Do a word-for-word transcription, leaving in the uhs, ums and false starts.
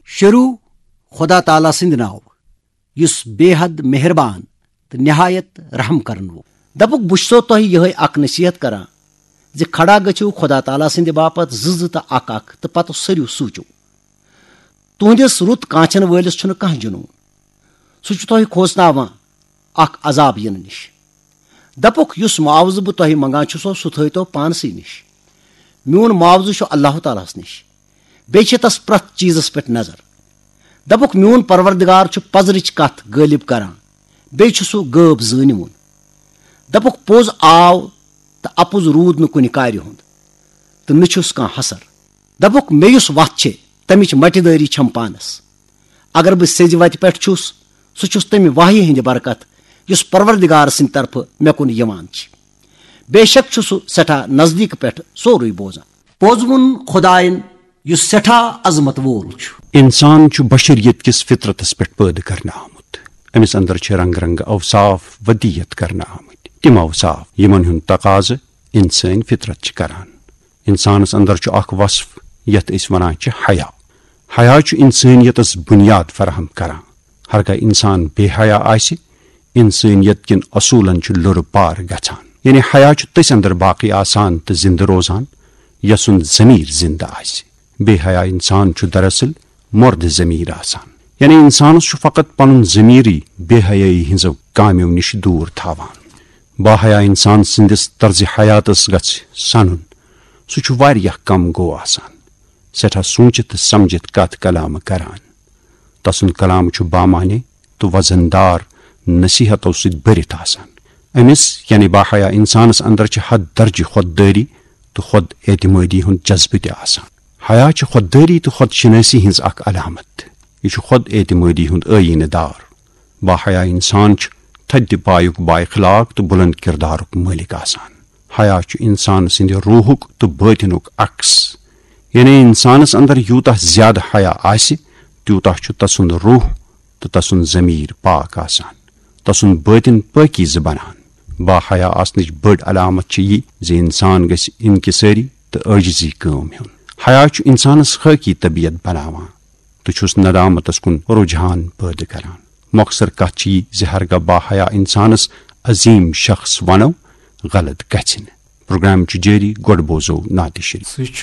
شروع خدا تعالیٰ سٕنٛدِ ناوٕ، یُس بے حد مہربان تہٕ نہایت رحم کرن وول۔ دپُکھ، بہٕ چھُسو تۄہہِ یِہے اکھ نصیحت کران زِ کھڑا گٔژھِو خدا تعالیٰ سٕنٛدِ باپتھ زٕ زٕ تہٕ اکھ اکھ، تہٕ پتہٕ سٔرِو سوٗچِو۔ تُہنٛدِس رُت کانچھن وٲلِس چھُنہٕ کانٛہہ جنون۔ سُہ چھُ تۄہہِ کھوژناوان اکھ عذاب یِنہٕ نِش۔ دپُکھ، یُس معاوضہٕ بہٕ تۄہہِ منگان چھُسو، سُہ تھٲوتو پانسٕے نِش۔ میون معاوضہٕ چھُ اللہ تعالیٰ ہس نِش۔ بیٚیہِ چھِ تس پرٛٮ۪تھ چیٖزس پٮ۪ٹھ نظر۔ دپُکھ، میون پروردگار چھُ پزرٕچ کتھ غٲلب کران، بیٚیہِ چھُ سُہ غٲب زٲنِوُن۔ دپُکھ، پوٚز آو تہٕ اپُز روٗد نہٕ کُنہِ کارِ ہُنٛد، تہٕ نہٕ چھُس کانٛہہ حسر۔ دپُکھ، مےٚ یُس وتھ چھے، تمِچ مٹہِ دٲری چھم پانس۔ اگر بہٕ سیٚزِ وتہِ پٮ۪ٹھ چھُس، سُہ چھُس تمہِ وحی ہٕنٛدِ برکت، یُس پروردگار سٕنٛدِ طرفہٕ مےٚ کُن یِوان چھِ۔ بے شک چھُ سُہ سٮ۪ٹھاہ نزدیٖک پٮ۪ٹھ سورُے بوزان۔ پوٚز ووٚن خدایَن، یُس سٮ۪ٹھاہ عظمت وول چھُ۔ انسان چھُ بشریت کِس فطرتس پٮ۪ٹھ پٲدٕ کرنہٕ آمُت۔ أمِس اندر چھِ رنگ رنگ اوصاف ودیت کرنہٕ آمٕتۍ۔ تِم اوصاف، یِمن ہُنٛد تقاضہٕ انسٲنۍ فطرت چھِ کران۔ انسانس اندر چھُ اکھ وصف، یتھ أسۍ ونان چھِ حیا۔ حیا چھُ انسٲنیتس بنیاد فراہم کران۔ ہرگاہ انسان بے حیا آسہِ، انسٲنیت کٮ۪ن اصوٗلن چھُ لُرٕ پار گژھان۔ یعنی حیا چھُ تٔسۍ اندر باقی آسان تہٕ زندٕ روزان، یسُنٛد ضمیر زندٕ آسہِ۔ بے حیا انسان چھُ دراصل مردٕ ضمیر آسان۔ یعنی انسانس چھُ فقط پنُن ضمیرٕے بے حیٲیی ہٕنٛزو کامیو نِش دوٗر تھاوان۔ باحیا انسان سٕنٛدِس طرزِ حیاتس گژھِ سنُن۔ سُہ چھُ واریاہ کم گوٚو آسان، سٮ۪ٹھاہ سوٗنچِتھ تہٕ سمجھِتھ کتھ کلامہٕ کران۔ تسُنٛد کلام چھُ بامعنی تہٕ وزن دار نصیحتو سۭتۍ بٔرِتھ آسان۔ أمِس، یعنی باحیا انسانس اندر چھِ حد درجہِ خود دٲری تہٕ خود اعتمٲدی ہُنٛد جذبہٕ تہِ آسان۔ حیا چھِ خود دٲری تہٕ خود شناسی ہٕنٛز اکھ علامت۔ یہِ چھُ خود اعتمٲدی ہُنٛد ٲیٖنہٕ دار۔ باحیا انسان چھُ تھدِ پایُک بااخلاق تہٕ بلند کردارُک مٲلِک آسان۔ حیا چھُ انسان سٕنٛدِ روحُک تہٕ بٲطنُک عکس۔ یعنی انسانس اندر یوٗتاہ زیادٕ حیا آسہِ، تیوٗتاہ چھُ تسُنٛد روح تہٕ تسُنٛد ضمیر پاک آسان، تسُنٛد بٲطن پٲکیزٕ بنان۔ باحیا آسنٕچ بٔڑ علامت چھِ یہِ زِ انسان گژھِ انکسٲری تہٕ عٲجزی کٲم ہیوٚن۔ حیا چھُ انسانس خٲکی طبیعت بناوان تہٕ چھُس ندامتس کُن رجحان پٲدٕ کران۔ مۄخصر کتھ چھِ یہِ زِ ہرگاہ باحیا انسانس عظیم شخص ونو، غلط گژھِ نہٕ۔ پروگرام چھُ جٲری، گۄڈٕ بوزو نعتِ شریف۔ سُہ چھُ